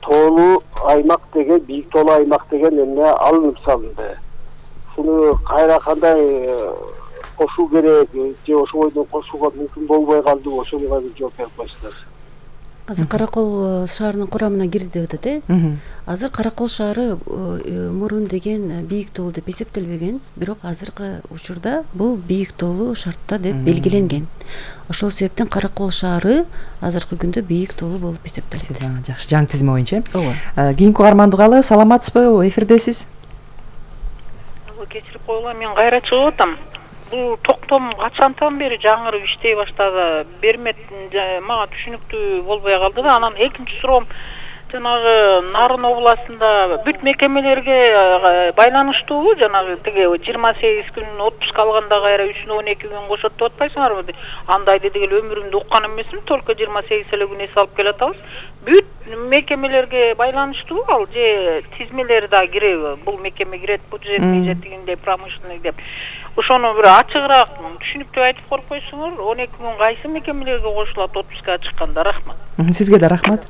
тоолуу аймак деген, бийик тоолуу аймак деген эмне алынып салынды. Шуну кайра кандай кошуу керек же ошо бойдон кошууга мүмкүн болбой калды, ошого бир жооп берип койсуңар. Азыр Каракол шаарынын курамына кирди деп атат, Азыр Каракол шаары мурун деген бийик тоолуу деп эсептелбеген, бирок азыркы учурда бул бийик тоолуу шартта деп белгиленген. Ошол себептен Каракол шаары азыркы күндө бийик тоолуу болуп эсептелет. Жакшы, жаңы тизме боюнча. Кийинки угарманды угалы. Саламатсызбы? Эфирдесиз. Кечирип койгула, мен кайра чыгып атам. Бул токтом качантан бери жаңырып иштей баштады. Бермет мага түшүнүктүү болбой калды да. Анан экинчи суроом жанагы Нарын областында бүт мекемелерге байланыштуубу? Жанагы тиги 28 күн отпуск алганда кайра 312 күн кошот деп атпайсыңарбы? Андайды дегел өмүрүмдө уккан эмесмин, только 28 эле күн эс алып келатабыз. Бүт мекемелерге байланыштуу ал же тизмелери да киреби? Бул мекеме кирет, бюджетный же тигиндей промышленный деп. Ошону бир ачыгыраак түшүнүктүү айтып коюп койсоңор, 12 күн кайсы мекемелерге кошулат отпуска чыкканда? Рахмат. Сизге да рахмат.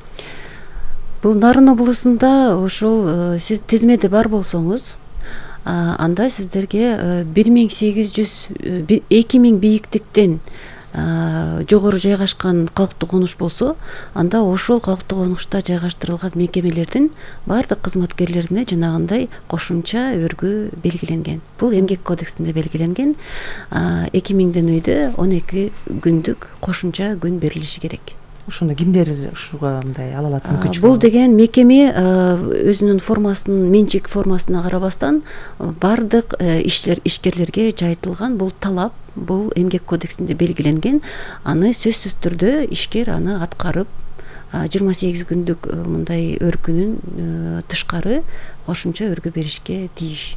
Бул Нарын областында ошол сиз тизмеде бар болсоңуз, анда сиздерге 2000 бийиктиктен жогору жайгашкан калктуу конуш болсо, анда ошол калктуу конушта жайгаштырылган мекемелердин баардык кызматкерлерине жанагындай кошумча өргө белгиленген. Бул эмгек кодексинде белгиленген. 2000ден үйдө 12 күндүк кошумча күн берилиши керек. Ошондо кимдер ушуга мындай ала алат мүмкүнчүлүк? Бул деген мекеме өзүнүн формасын, менчик формасына карабастан баардык ишкерлерге жайылтылган бул талап, бул эмгек кодексинде белгиленген. Аны сөзсүз түрдө ишкер аны аткарып 28 күндүк мындай өркүнүн тышкары кошумча өргө беришке тийиш.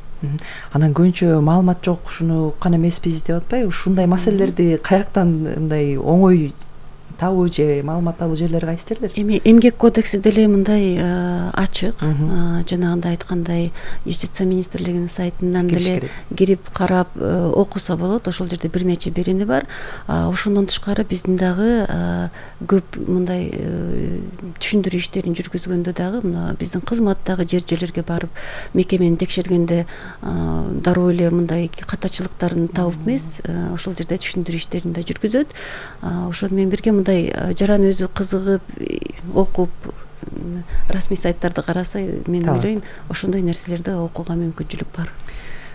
Анан көбүнчө маалымат жок, ушуну уккан эмеспиз деп атпайбы? Ушундай маселелерди каяктан мындай оңой табуу же маалымат табуу жерлери кайсы жерлер? Эми эмгек кодекси деле мындай ачык, жанагындай айткандай Юстиция министрлигинин сайтынан деле кирип карап окуса болот. Ошол жерде бир нече берени бар. Ошондон тышкары биздин дагы көп мындай түшүндүрүү иштерин жүргүзгөндө дагы мына биздин кызматтагы жерлерге барып мекемени текшергенде дароо эле мындай катачылыктарын табып эмес, ошол жерде түшүндүрүү иштерин да жүргүзөт. Ошону менен бирге мындай жаран өзү кызыгып окуп расмий сайттарды караса, мен ойлойм ошондой нерселерди окууга мүмкүнчүлүк бар.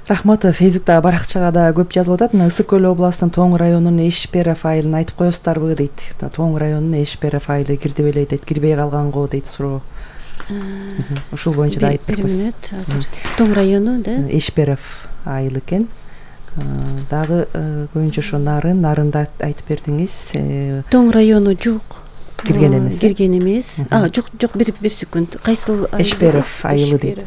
Рахмат. Фейсбукта баракчага да көп жазылып атат. Ысык көл областынын Тоң районунун Эшперов айылын айтып коесуздарбы дейт. Тоң районунун Эшперов айылы кирди беле дейт, кирбей калганго дейт суроо. Ушул боюнча да айтып койсуң. Тоң району да Эшперов айылы экен. Дагы көбүнчө ошо Нарында айтып бердиңиз. Тоң району жок. Кирген эмес. Кирген эмес. Жок, бир секунд. Кайсыл Эшперов айылы дейт.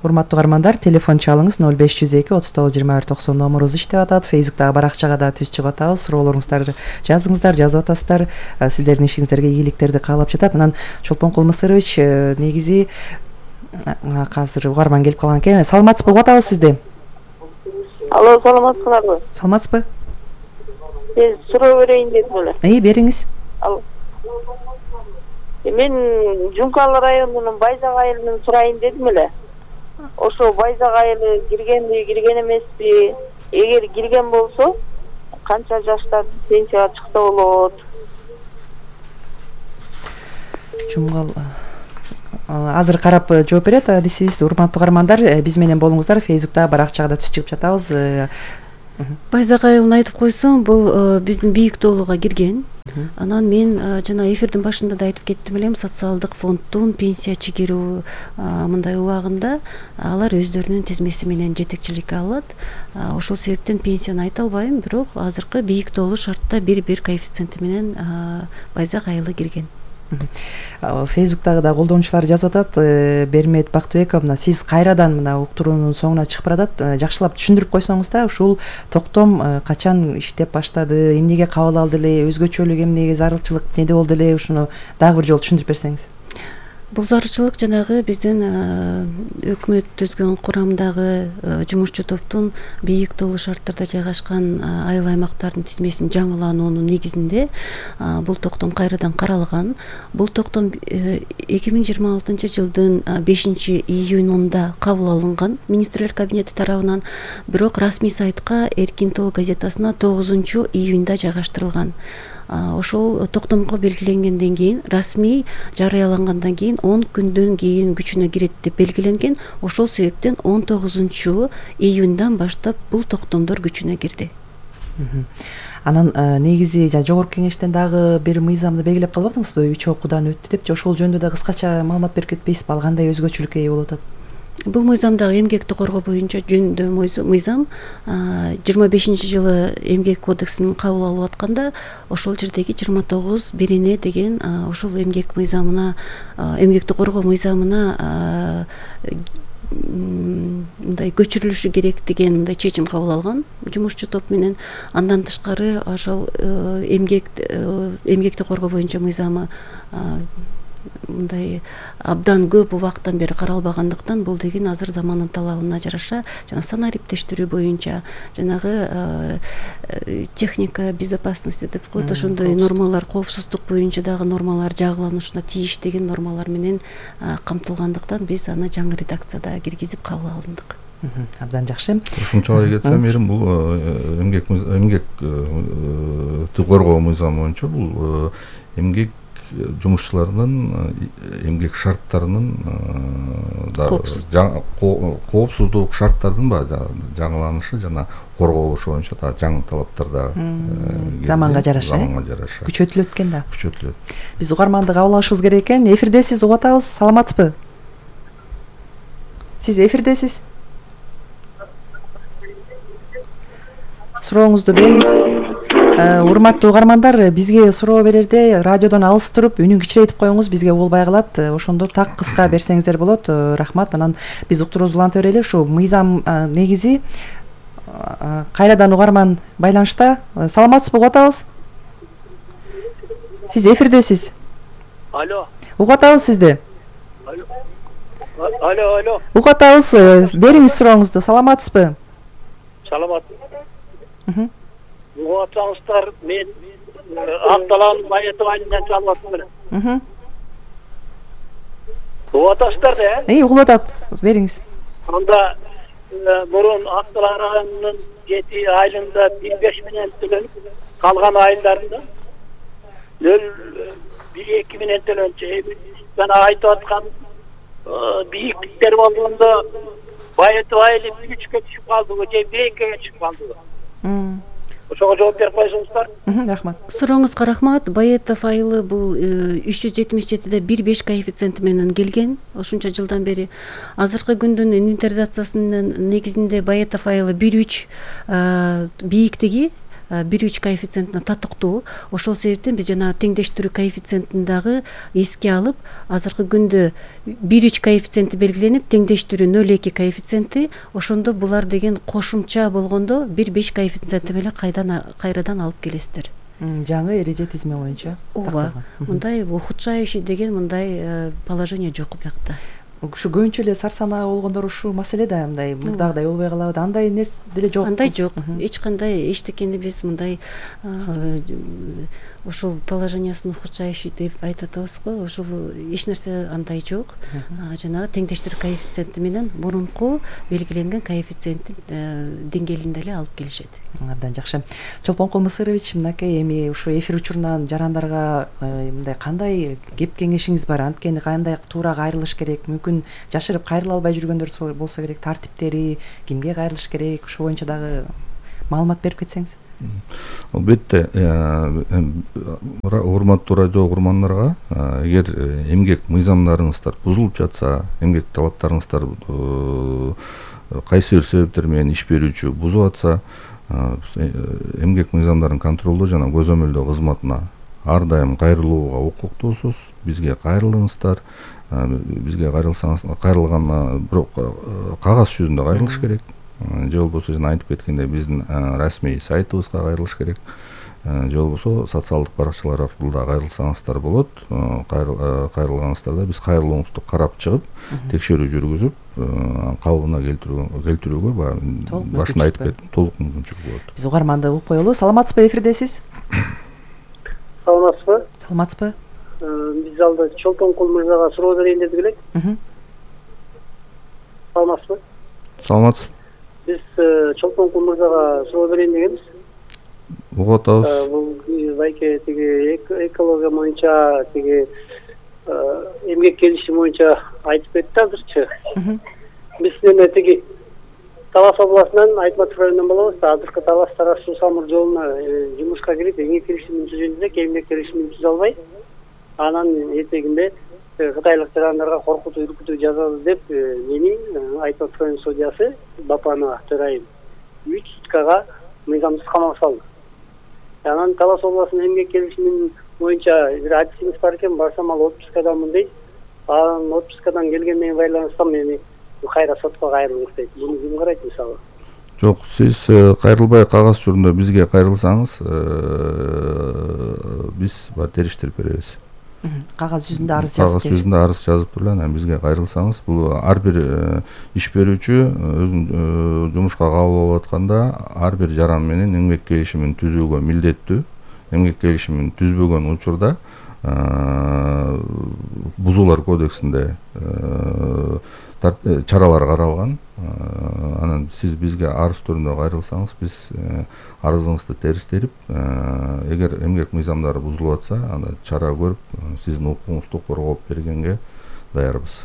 Урматтуу угармандар, телефон чалыңыз 0502 39 21 90 номурубуз иштеп атат. Фейсбуктагы баракчага да түз чыгып атабыз. Суроолоруңуздар жазыңыздар, жазып атасыздар. Сиздердин ишиңиздерге ийгиликтерди каалап жатат. Анан Чолпон Кулмысырович, негизи азыр угарман келип калган экен. Саламатсызбы? Угуп атабыз сизди. Алло, саламатсыңарбы? Саламатсызбы? Мен суроо берейин дедим эле. Бериңиз. Мен Жумкалы районунун Байзак айылынан сурайын дедим эле. Ошо Байзак айылы киргенби, кирген эмеспи? Эгер кирген болсо, канча жаштар пенсияга чыкса болот? Жумгал азыр карап жооп берет адисибиз. Урматтуу угармандар, биз менен болуңуздар. Фейсбукта баракчага да түз чыгып жатабыз. Байзак айылын айтып койсоң, бул биздин бийик тоолууга кирген. Анан мен жана эфирдин башында да айтып кеттим элем, социалдык фонддун пенсия чыгаруу мындай убагында алар өздөрүнүн тизмеси менен жетекчиликке алат. Ошол себептен пенсияны айта албайм, бирок азыркы бийик тоолуу шартта 1-1 коэффициенти менен Байзак айылы кирген. Фейсбуктагы да колдонуучулар жазып атат. Бермет Бактыбековна, сиз кайрадан мына уктуруунун соңуна чыгып баратат. Жакшылап түшүндүрүп койсоңуз да, ушул токтом качан иштеп баштады, эмнеге кабыл алды эле, өзгөчөлүк эмнеге, зарылчылык неде болду эле, ушуну дагы бир жолу түшүндүрүп берсеңиз. Бул зарылчылык жанагы биздин өкмөт түзгөн курамдагы жумушчу топтун бийик тоолуу шарттарда жайгашкан айыл аймактардын тизмесин жаңылануунун негизинде бул токтом кайрадан каралган. Бул токтом 2026 жылдын 5-июнунда кабыл алынган министрлер кабинети тарабынан, бирок расмий сайтка Эркин тоо газетасына 9-июнда жайгаштырылган. Ошол токтомго белгиленгенден кийин, расмий жарыялангандан кийин 10 күндөн кийин күчүнө кирет деп белгиленген. Ошол себептен 19-июндан баштап бул токтомдор күчүнө кирди. Анан негизи жогорку кеңештен дагы бир мыйзамды белгилеп калбадыңызбы? 3 окуудан өттү деп, ошол жөнүндө да кыскача маалымат берип кетпейсизби? Ал кандай өзгөчөлүккө ээ болуп атат? Бул мыйзамдагы эмгекти коргоо боюнча жөнүндө мыйзам 25-жылы эмгек кодексин кабыл алып атканда, ошол жердеги 29-1 деген ошол эмгек мыйзамына, эмгекти коргоо мыйзамына мындай көчүрүлүшү керек деген мындай чечим кабыл алган жумушчу топ менен. Андан тышкары ошол эмгекти коргоо боюнча мыйзамы мындай абдан көп убакыттан бери каралбагандыктан, бул деген азыр замандын талабына жараша жана санариптештирүү боюнча жанагы техника безопасности деп коет, ошондой нормалар, коопсуздук боюнча дагы нормалар жагыланышына тийиш деген нормалар менен камтылгандыктан биз аны жаңы редакцияда киргизип кабыл алдык. Абдан жакшы. Ушунчалык кетсем, Эрим, бул эмгекти коргоо мыйзамы боюнча бул эмгек жумушчуларынын эмгек шарттарынын коопсуздук шарттардын жаңыланышы жана корголушу боюнча да жаңы талаптар да заманга жараша күчөтүлөт экен да. Күчөтүлөт. Биз угарманды кабыл алышыбыз керек экен. Эфирдесиз, угуп атабыз. Саламатсызбы? Сиз эфирдесиз. Сурооңузду бериңиз. Урматтуу угармандар, бизге суроо берерде радиодон алыс туруп үнүн кичирейтип коюңуз, бизге болбой калат. Ошондо так кыска берсеңиздер болот. Рахмат. Анан биз уктуруубузду уланта берели. Ушу мыйзам негизи кайрадан угарман байланышта. Саламатсызбы? Угуп атабыз. Сиз эфирдесиз. Алло. Угуп атабыз сизди. Алло. Угуп атабыз. Бериңиз сурооңузду. Саламатсызбы? Саламат. Угуп атсаңыздар, мен Акталаанын Байетов айылынан чалып атам. Угуп атасыздар да? Угуп атат. Бериңиз. Анда мурун Акталаан районунун 7 айылында 15 менен төлөнүп, калган айылдарында 0,1-2 менен төлөнчү. Жана айтып аткан бийиктиктер болгондо Байетов айылы 3-кө түшүп калдыбы же 1-ге түшүп калдыбы? Ошого жооп берип койсоңуздар. Рахмат. Сурооңузга рахмат. Байетов айылы бул 377-де 1,5 коэффициенти менен келген. Ошонча жылдан бери азыркы күндүн инвентаризациясынын негизинде Байетов айылы 1,3 бийиктиги 1,3 коэффициентине татыктуу. Ошол себептен биз жана теңдештирүү коэффициентин дагы эске алып, азыркы күндө 1,3 коэффициенти белгиленип, теңдештирүү 0,2 коэффициенти, ошондо булар деген кошумча болгондо 1,5 коэффициенти менен кайрадан алып келесиздер. Жаңы эреже тизме боюнча такталган. Мындай ухудшающий деген мындай положение жок биякта. Ушу көбүнчө эле сар санаа болгондор ушул маселеде мындай мурдагыдай болбой калабы? Андай нерсе деле жок. Андай жок. Эч кандай эчтекени биз мындай ошол положениясын ухудшающий деп айтып атабыз го. Ошол эч нерсе андай жок. Жанагы теңдештирүү коэффициенти менен мурунку белгиленген коэффициенттин деңгээлинде эле алып келишет. Абдан жакшы. Чолпонкул Мысырович, мынакей эми ушу эфир учурунан жарандарга мындай кандай кеп кеңешиңиз бар? Анткени кандай туура кайрылыш керек? Мүмкүн жашырып кайрыла албай жүргөндөр болсо керек, тартиптери, кимге кайрылыш керек? Ошол боюнча дагы маалымат берип кетсеңиз. Албетте, урматтуу радио угармандарга, эгер эмгек мыйзамдарыңыздар бузулуп жатса, эмгек талаптарыңыздар кайсы бир себептер менен иш берүүчү бузуп атса, эмгек мыйзамдарын контролдоо жана көзөмөлдөө кызматына ар дайым кайрылууга укуктуусуз. Бизге кайрылыңыздар. Бизге кайрылган бирок кагаз жүзүндө кайрылыш керек. Же болбосо жана айтып кеткендей биздин расмий сайтыбызга кайрылыш керек. Же болбосо социалдык баракчалар аркылуу да кайрылсаңыздар болот. Кайрылганыңыздарда биз кайрылууңузду карап чыгып, текшерүү жүргүзүп, калыбына келтирүүгө башында айтып кеттим, толук мүмкүнчүлүк болот. Биз угарманды угуп коелу. Саламатсызбы, эфирдесиз? Саламатсызбы? Саламатсызбы? Биз алда Чолпонкул мырзага суроо берейин дедик элек. Саламатсызбы? Саламатсыз. Биз Чолпонкул мырзага суроо берейин дегенбиз. Угуп атабыз. Бул байке тиги экология боюнча тиги эмгек келишими боюнча айтып кетти азырчы. Биз эме тиги Талас областынан Айтматов районунан болобуз да. Азыркы Талас Тарас суу самыр жолуна жумушка кирип, эмгек келишимин түзөйүн десек, эмгек келишимин түзө албай, анан этегинде кытайлык жарандарга коркутуу, үркүтүү жазабыз деп мени Айтматов район судьясы Бапанова төрайым 3 суткага мыйзамсыз камап салды. Анан Талас областынын эмгек келишимин боюнча бир адисиңиз бар экен, барсам ал отпускадамын дейт. Анан отпускадан келгенден байланыштан мени кайра сотко кайрылыңыз дейт. Буну ким карайт мисалы? Жок, сиз кайрылбай кагаз түрүндө бизге кайрылсаңыз, биз териштирип беребиз. Кагаз жүзүндө арыз жазып. Кагаз жүзүндө арыз жазып туруп анан бизге кайрылсаңыз, бул ар бир иш берүүчү өзүнүн жумушка кабыл болуп атканда ар бир жаран менен эмгек келишимин түзүүгө милдеттүү. Эмгек келишимин түзбөгөн учурда бузуулар кодексинде чаралар каралган. Анан сиз бизге арыз түрүндө кайрылсаңыз, биз арызыңызды териштирип, эгер эмгек мыйзамдары бузулуп атса, анда чара көрүп, сиздин укугуңузду коргоп бергенге даярбыз.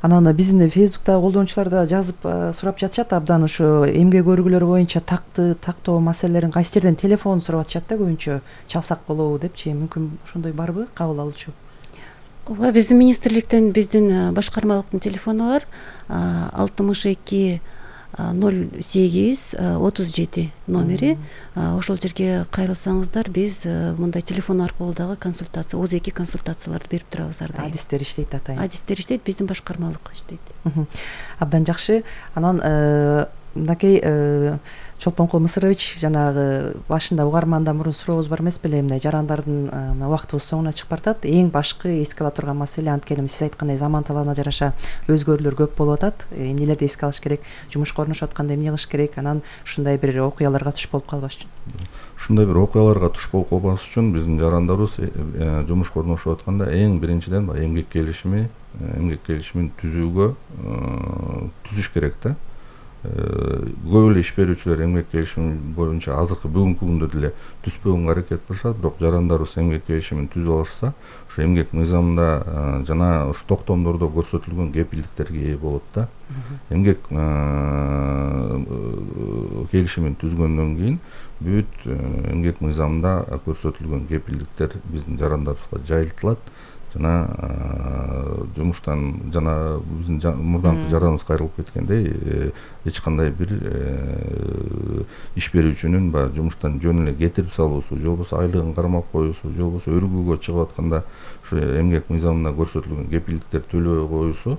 Анан биздин Фейсбуктагы колдонуучулар да жазып сурап жатышат, абдан ушу эмгек өргүлөр боюнча тактоо маселелерин кайсы жерден телефон сурап атышат да, көбүнчө чалсак болобу депчи. Мүмкүн ошондой барбы кабыл алуучу? Ооба, биздин министрликтен биздин башкармалыктын телефону бар. 62 08 37 номери. Ошол жерге кайрылсаңыздар, биз мындай телефон аркылуу дагы консультация, ОЗ2 консультацияларды берип турабыз ар дайым. Адистер иштейт атайын. Адистер иштейт, биздин башкармалык иштейт. Абдан жакшы. Анан мынакей Чолпонкул Мысырович, жанагы башында угармандан мурун сурообуз бар эмес беле, мындай жарандардын убактыбыз соңуна чыгып баратат. Эң башкы эске ала турган маселе, анткени сиз айткандай заман талабына жараша өзгөрүүлөр көп болуп атат. Эмнелерди эске алыш керек, жумушка орношуп атканда эмне кылыш керек, анан ушундай бир окуяларга туш болуп калбаш үчүн. Ушундай бир окуяларга туш болуп калбаш үчүн биздин жарандарыбыз жумушка орношуп атканда эң биринчиден эмгек келишимин түзүүгө түзүш керек да. Көп эле иш берүүчүлөр эмгек келишими боюнча азыркы бүгүнкү күндө деле түзбөгөнгө аракет кылышат, бирок жарандарыбыз эмгек келишимин түзүп алышса, ошо эмгек мыйзамында жана ушу токтомдордо көрсөтүлгөн кепилдиктерге ээ болот да. Эмгек келишимин түзгөндөн кийин бүт эмгек мыйзамында көрсөтүлгөн кепилдиктер биздин жарандарыбызга жайылтылат. жана жумуштан жана биздин мурдаңкы жараныбыз кайрылып кеткендей эч кандай бир иш берүүчүнүн баягы жумуштан жөн эле кетирип салуусу же болбосо айлыгын кармап коюусу же болбосо өргүүгө чыгып атканда ушу эмгек мыйзамында көрсөтүлгөн кепилдиктерди төлөбөй коюусу